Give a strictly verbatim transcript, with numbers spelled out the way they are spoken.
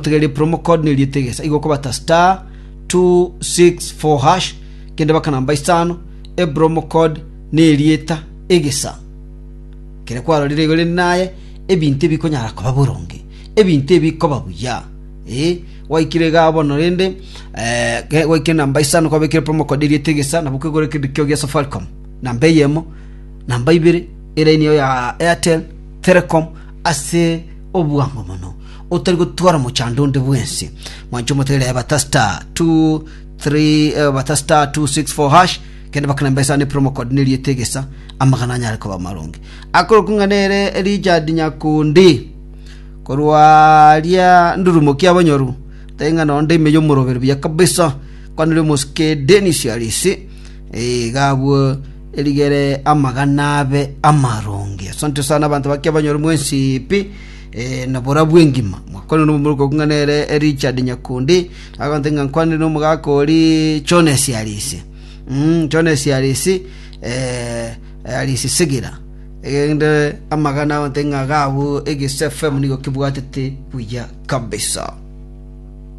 Otegererie promo code neriete egesa igo okobata star two six four hash kende baka namba isano epromo code nerieta egesa kere kwarorire igo rende naye ebinto ebikonyara koba boronge ebinto ebikoba buya eh gwaikire igaa bono rende eh, ge- gwaikire namba isano kwabekire promo code erieta egesa nabo kwegora ekero kio gia Safaricom namba eyemo namba ibere eraini eyo ya Airtel Telecom ase obwango mono otari gotwara mochando onde bwensi. Mwanche omotegerere bata star two three eh, bata star two six four hash kende bakana mbesa ne promo code neriete egesa amagana anyare koba maronge. Akorokwa ng'a nere Richard Nyakundi korwa aria ndurumo kia bonyoru tari ng'a nonde ime y'omoroberi buya kabisa kwanire omosike Dennis Arisi iga abwo erigere amagana abe amaronge. Asante sana abanto bakia banyore mwensi pi eh, na borabwo engima. Mwakwanire nomomura okwo ng'a nere Richard Nyakundi, agonte ng'a nkwanire nomogaka ori Jones Arisi. Mm, Jones Arisi eh, Arisi Sigira. Egende amagana agonte ng'a gabu Egese F M nigo kebwatete buya kabisa.